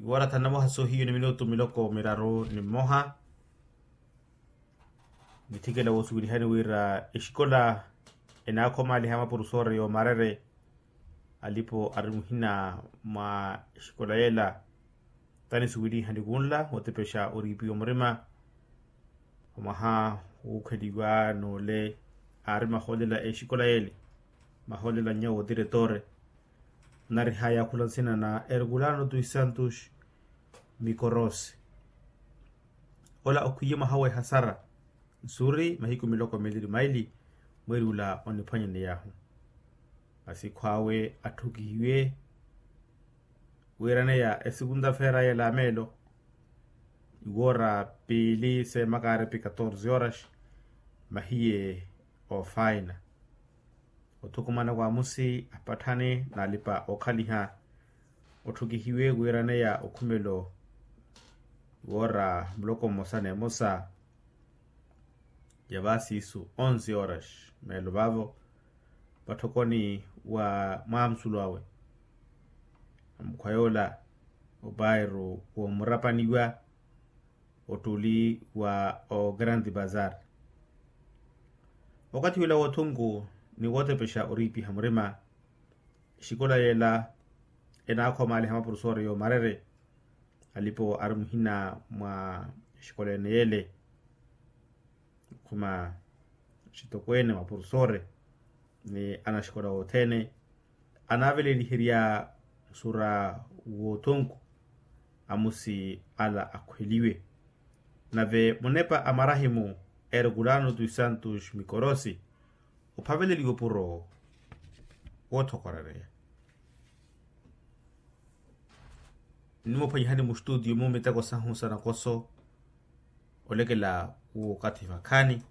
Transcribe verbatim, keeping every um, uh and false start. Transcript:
Iwoora thanu na mmoha soohiyu ni minutu miloko miraru ni mmoha. Nithikela woosuwelihani wira exikola enaakhomaliha mapurusoore yoomarere. Alipo ari muhina mwa exikola yela tanisuwelihani kunla wootepexa oriipiwa murima. Omwaha wuukheliwa n'ole aari mahoolela exikola yele, mahoolela nnya wootiretore. Narihaya khula nsina na herculano dos santos mikorosi. Ola okhwiye mwaha w'ehasara nsuuri mahiku miloko mili ni maili. Mweeri ula oniphwanyaneyahu masi khwaawe atthukihiwe wiiraneya esikunta feera yela meelo. Iwoora piili seemakaari pi katorze horas mahiye oofaina. Othukumana wa amusi apatthani n'alipa-ookhaliha otthukihiwe wiiraneya okhumelo woora muloko mmosa n'emosa ya vaasiisu onze horas meelo vaavo vatthokoni wa mwaamusulu awe. Amukhwa yoola opairu woomurapaniwa ottuli wa ogrande bazar. Okathi wila woothunku ni wootepexa oriipiha murima exikola yela enaakhomaliha mapurusoore yoomarere. Alipo ari muhina mwa exikola ene yele khuma xitokweene mapurusoore ni anaxikola wothene anaaveleliherya nsuura woothunku amusi ala akhweliwe. Nave munepa a marahimu herculano dos santos mikorosi ophaveleliwe opuro woothokorereya. Nimuphwanyihani mustutiyo mu miteko sahu sa nakoso olekela w'okathi vakhaani.